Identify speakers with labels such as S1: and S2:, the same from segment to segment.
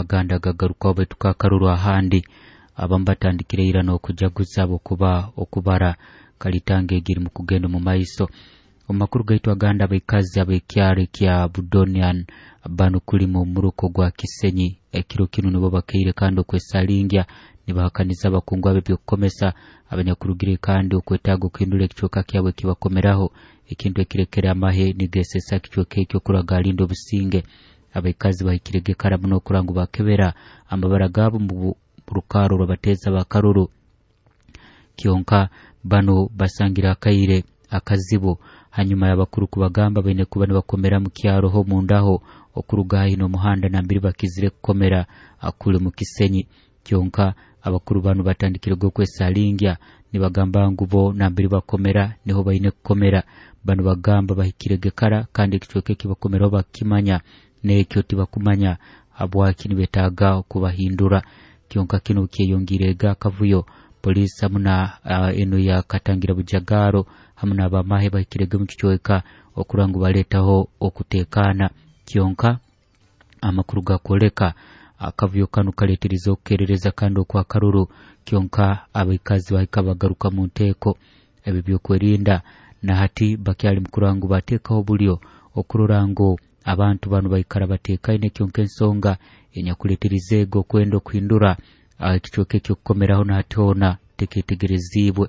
S1: Agandi agagarukaho baitu kakaruru ahandi abamu batandikire ira n'okujaguza habwokuba okubara kalitanga egi erimu kugenda omu maiso. Omu makuru gaitu agandi, abaikazi ab'ekyaro ekya Budonian banu kulimu omuruko gwa Kisenyi ekiro kinu nibo bakaire kandi okwesalingya nibahakaniza abakungu ab'ebyokukomesa abanyakurugire kandi okwetaaga okuhindura ekicweka kyabo ekibakomeraho, ekintu ekirekere amahe nigesesa ekicweka ekyo kurora galinda obusinge. Abaikazi bahikirege kara muno okurora ngu bakebera amabara gaabo mu rukaro rw'abateeza b'akaruru, kyonka banu basangire akaire akazibu hanyuma y'abakuru kubagamba baine kuba nibakomera mu kyaro ho mundaho okuruga haihi n'omuhanda nambere bakizire kukomera kuli mu Kisenyi. Kyonka abakuru banu batandikire okwesalingya nibagamba ngu bo nambere bakomera niho baine kukomera. Banu bagamba bahikirege kara kandi ekicweka eki bakomeraho bakimanya, n'ekyo tibakumanya habwaki nibetaaga okubahindura. Kyonka kinu kyeyongiirege akavuyo. Poliisi hamu na enu ya Katangira Bujagaro hamu n'abamahe bahikirege omu kicweka okurora ngu baleetaho okuteekaana. Kyonka amakuru gakwoleka akavuyo kanu kaleeterize okukerereza kandi okw'akaruru, kyonka abaikazi bahika bagaruka mu nteeko. Ebi byokwerinda na hati bakyali mu kurora ngu bateekaho obulyo okurora ngu abantu banu baikara bateekaine, kyonka ensonga enyakuleeterize ego okwenda okuhindura ekicweka ekyokukomeraho na hati hoona teketegereziibwe.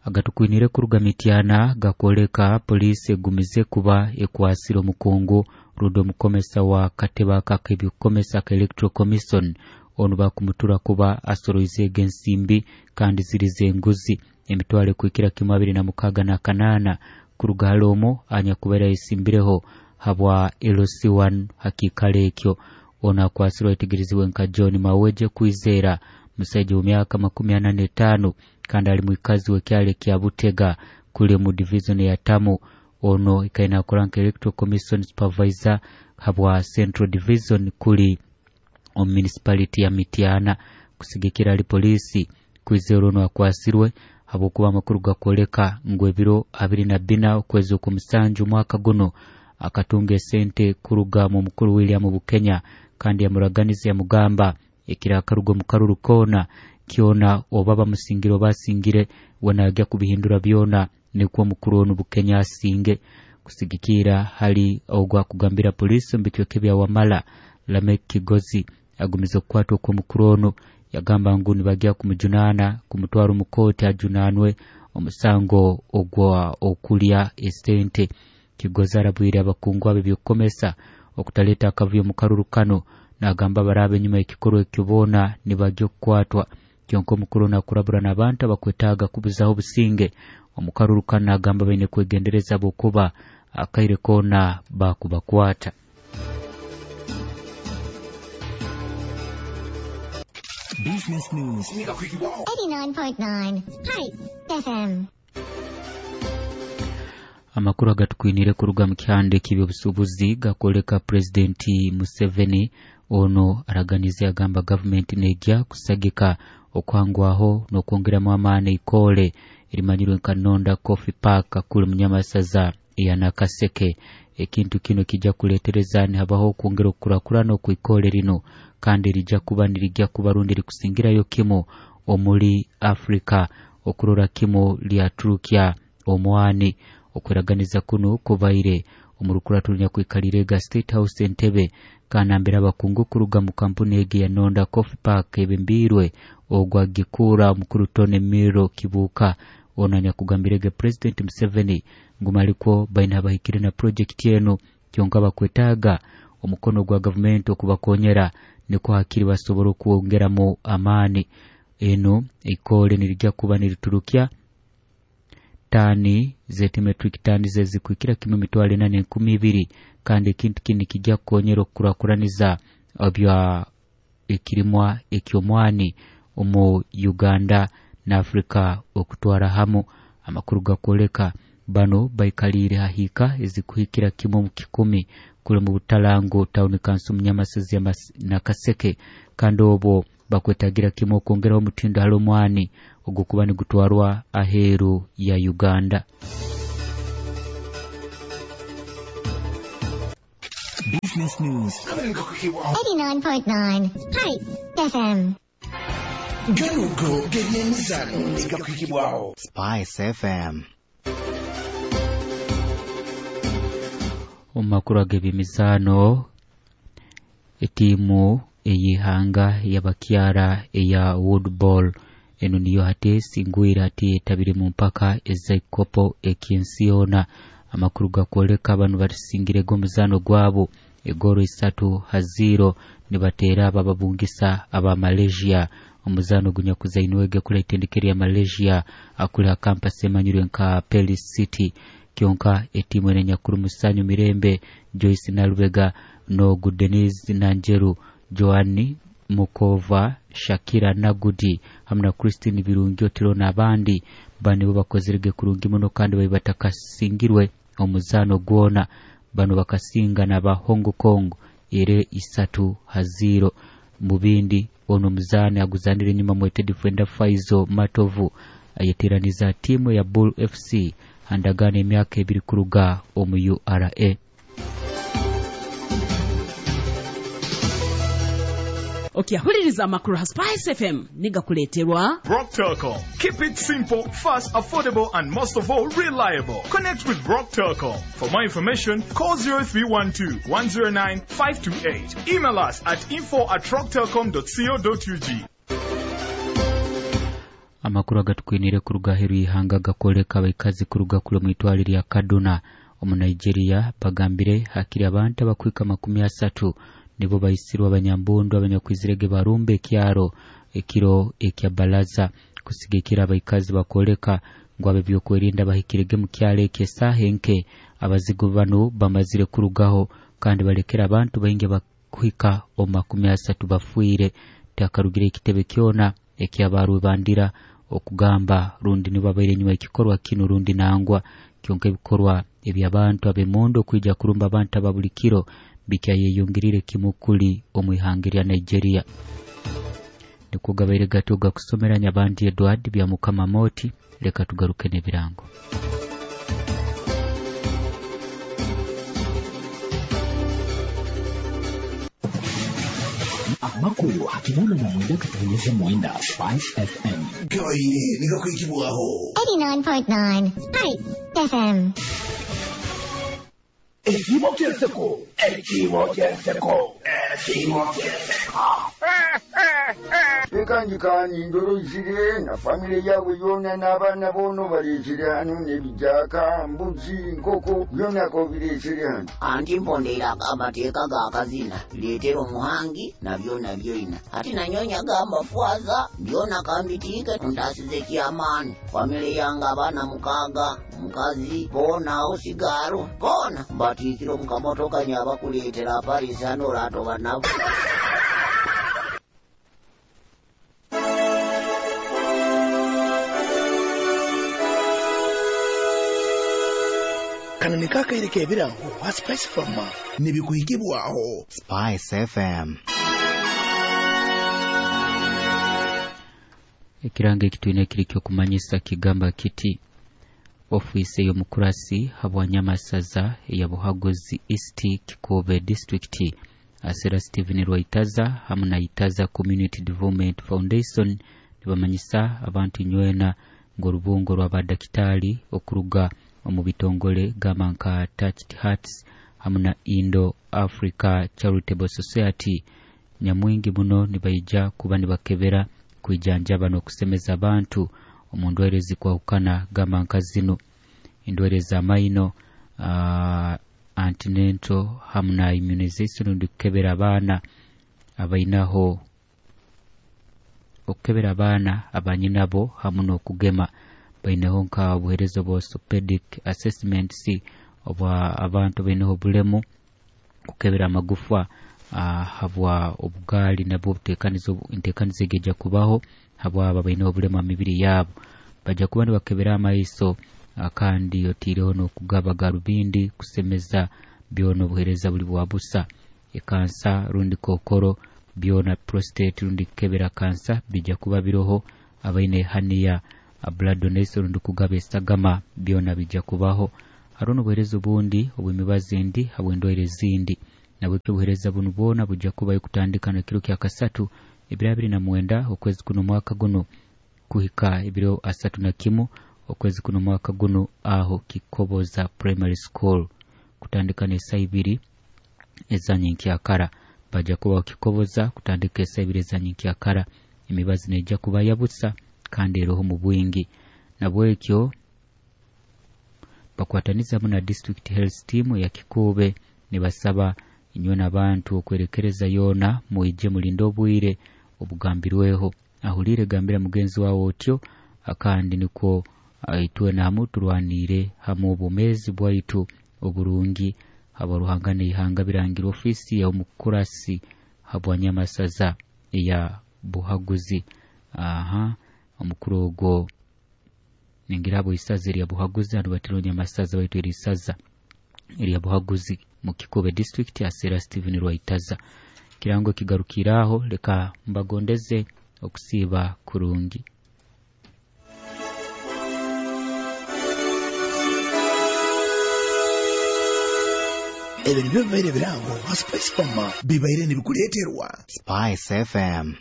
S1: Agatukwinire kuruga Mityana gakwoleka poliisi egumize kuba ekwasire omukungu rundi omukomesa wa katebe aka ak'ebyokukomesa aka Electoral Commission. Onu bakumutura kuba asoroizeege ensimbi kandi ziri z'enguzi emitwaro ekuhikira kimu 26 na 8 kuruga hali omu anyakubaire ayesimbireho habwa LC1 hakiikaro ekyo. Onu akwasirwe ayetegerezibwe nka John Maweje Kwizera, musaija w'emyaka 45 kandi ali mwikazi w'ekyaro ekya Butega kuli mu division ya Tamu. Ono ikaire nakora nka Electoral Commission Supervisor habwa Central Division kuli omu municipality ya Mityana. Kusigikira hali poliisi, Kwizera onu akwasirwe habwokuba amakuru gakwoleka ngu ebiro 24 okwezi okw'omusanju omwaka guno akatunga esente kuruga mu mukuru William Bukenya kandi yamuraganiza yamugamba ekirakaruga omu karuru koona kyona oba bamusingire oba asingire we naagya kubihindura byona, nikwo omukuru onu Bukenya asinge. Kusigikira hali ogwo akugambira poliisi omu bicweka ebya Wamala, Lamek Kigozi agumize okukwatwa okw'omukuru onu, yagamba ngu nibagya kumujunaana kumutwara omu kooti ajunaanwe omusango ogwa okulya esente. Kigozi arabwire abakungu ab'ebyokukomesa okutaleeta akavuyo mu karuru kano, nagamba baraaba enyuma y'ekikorwa ekyo boona nibagya okukwatwa. Kyonka omukuru onu akurabura n'abantu abakwetaaga kubuzaho obusinge omu karuru kanu, nagamba baine kwegendereza habwokuba akaire koona bakubakwata.
S2: Business News.
S3: 89.9 Hi FM.
S1: Amakuru agatukwinire kuruga mu kihande ky'ebyobusuubuzi gakwoleka Pulezidenti Museveni ono araganize agamba gavumenti negya kusagika okuhangwaho n'okwongeramu amaani eikole erimanyirwe nka Nonda Coffee Park kuli Munyamasaza eya Nakaseke. Ekintu kino kijja kuleetereza nihabaho okwongera okukurakurana okw'eikole lino kandi rijja kuba nirijja kuba rundi rikusingirayo kimu omuri Afrika okurora kimu lyaturukya omwani. Okweraganiza kuno kubaire omu rukurato runyakwikaliire ga State House Entebbe kanambira abakungu kuruga mu kampuni egi ya Nonda Coffee Park ebembiirwe ogwo agikuura omukuru Tony Miro Kibuuka. Ono anyakugambirege President Museveni ngu malikwo baine abahikire na projekiti enu, kyonka bakwetaaga omukono gwa gavumenti okubakonyera nikwo hakiri basobora okwongeramu amaani. Enu eikole nirijja kuba niriturukya tani zeti metric tani zezikuhikira kimu 4,200 kandi ekintu kinu kijja kukonyera okukurakuraniza ebya ekirimwa eky'omwani omu Uganda na Afrika okutwara hamu. Amakuru gakwoleka bano baikaliire hahiika ezikuhikira kimu mu 100 kuli mu Butalangu Town Council Munyamasazi ya Nakaseke, kandi obwo bakwetagira kimu okwongeraho omutindo hali omwani ogukuba nigutwarwa aheeru ya Uganda.
S2: Business News.
S3: 89.9 Spice FM.
S4: Ganugo g'ebyemizano negakwikibwaho
S5: Spice FM.
S1: Omu makuru ag'ebyemizaano, etiimu ey'ihanga y'abakyara eya woodball enu niyo hati esingwire hati etabire mu mpaka ez'ekikopo eky'ensi yoona. Amakuru gakwoleka banu basingirege omuzaano gwabo egoro 3-0 nibateera abo ababungisa aba Malaysia. Omuzaano gunyakuzainwege kula itendekero ya Malaysia akuli ha campus emanyirwe nka Perlis City. Kyonka etiimu eno enyakuru Musanyu Mirembe, Joyce Nalubega, Nogu Denise Nanjeru, Joan Mukova, Shakira Nagudi hamwe na Christine Birungi Otiro n'abandi bano bakozerege kurungi muno kandi bali batakasingirwe omuzaano gwona. Bano bakasinga n'aba Hong Kong ere 3-0. Mu bindi ono omuzaani aguzanire enyuma mwete defender Faizo Matovu ayeteraniza tiimu ya Bull FC handagaano emyaka 2 kuruga omu URA.
S6: Okyahuliriza amakuru ha Spice FM nigakuleeterwa
S7: Rock Telcom. Keep it simple, fast, affordable, and most of all, reliable. Connect with Rock Telcom. For more information, call 0312 109 528. Email us at info@rocktelcom.co.ug.
S1: Amakuru agatukwinire kuruga aheeru y'ihanga gakwoleka abaikazi kuruga kule mu itwale lya Kaduna omu Nigeria bagambire hakiri abantu abakwika 30 nibo baisirwe abanyambundu abanyakwizirege barumba ekyaro ekiro ekya balaza kusigikira abaikazi bakwoleka ngu ab'ebyokwerinda bahikirege mu kyaro ekyo esaaha enke. Abazigu banu bamazire kurugaho kandi balekera abantu baingi bakuhika omu 30 bafiire. Tihakarugire ekitebe kyona ekyabarwebandira okugamba rundi nibo babaire enyuma ekikorwa kinu rundi nangwa. Kyonka ebikorwa eby'abantu ab'emondo okwija kurumba abantu aba buli kiro bikyayeyongerire kimu kuli omu ihanga lya Nigeria. Nikwo gabaire gatyo gakusomera Nyabandi Edward bya Mukama Moti. Leka tugaruke n'ebirango.
S2: Amakuru hakinana na mwenda katonyeze mwenda Spice FM.
S4: Gabaire negakwikibwaho
S3: 89.9 Spice FM.
S4: Ekimo ky'enseko, ekimo ky'enseko, ekimo ky'enseko.
S8: Ekanjikani ndorozire na famire yabwe yona n'abaana bono bareesire hano n'ebijaaka, mbuzi, nkoko byona kobireesire hano.
S9: Anti mpondera amateeka g'akazina leetera omuhangi na byona byona ati nanyonya g'amafwaza byona kambitiike ntaasize kyamaani famire yange abaana 6 mukazi boona awo sigaalo boona mbatiikire omu kamotoka nyabakuleetera Paris hano oratoba nabo.
S4: Kano ne kakaire k'ebirango ha Spice FM nebikuhikibwaho
S5: Spice FM.
S1: Ekirango ekitwine kiri ky'okumanyisa kigamba kiti ofiisi ey'omukurasi habwanyamasaza eya Buhaguzi East Kikobe District Asera Stephen Rwaitaza hamwe na Itaza Community Development Foundation nibamanyisa abantu nywena ng'orubungo rw'abadakitari okuruga omu bitongole gamba nka Touched Hearts hamwe na Indo Africa Charitable Society nyamwingi muno nibaija kuba nibakebera kwijanjaba n'okusemeza abantu omu ndwaire zikwahukana gamba nka zino endwaire z'amaino, antenatal hamwe na immunization rundi kukebera abaana abainaho okukebera abaana abanyinabo hamwe n'okugema. Baineho nka obuheereza obwa orthopedic assessments obwa abantu baineho obulemu kukebera amagufa habwa obugaali nabwo enteekaniza egeja kubaho habwabo baineho obulemu aha mibiri yaabo. Bajja kuba nibakebera amaiso kandi otiireho n'okugaba garubindi kusemeza byona obuheereza buli bwa busa. Ekansa rundi kokoro byona prostate rundi kukebera kansa bijja kuba biroho. Abaine hernia blood donation rundi kugaba esagama byona bijja kubaho. Hariho n'obuheereza obundi obw'emibazi endi habw'endwaire ezindi. Nabwekyo obuheereza bunu bwona bujja kubayo kutandika nekiro kya kasatu ebiro 29 okwezi kuno mwaka guno kuhika ebiro 31 okwezi kuno mwaka guno aho Kikoboza Primary School kutandika n'esaa 2 ezanyenkyakara. Bajja kuba Kikoboza kutandika esaa 2 ezanyenkyakara. Emibazi neija kuba yabusa kandi eroho mu bwingi. Nabwekyo bakwataniza na District Health Team ya Kikube nibasaba inywe n'abantu okwerekereza yoona muije mulinde obwire obugambirweho. Ahulire gambira mugenzi wawe otyo, akandi nikwo itwe namu turwanire hamu obumezi bwaitu oburungi. Abaruhanga n'ihanga birangira ofisi ya omukurasi habwanyamasaza ya Buhaguzi. Aha, omukuru ogwo ningira abo isaza erya Buhaguzi andu batironya masaza baitu eri isaza erya Buhaguzi mu Kikube District asera Steven Rwaitaza. Kirango kigarukiraho, leka mbagondeze okusiba kurungi.
S4: Ebyo nibyo bibaire birango ha Spice Farmer bibaire nibikuleeterwa
S5: Spice FM.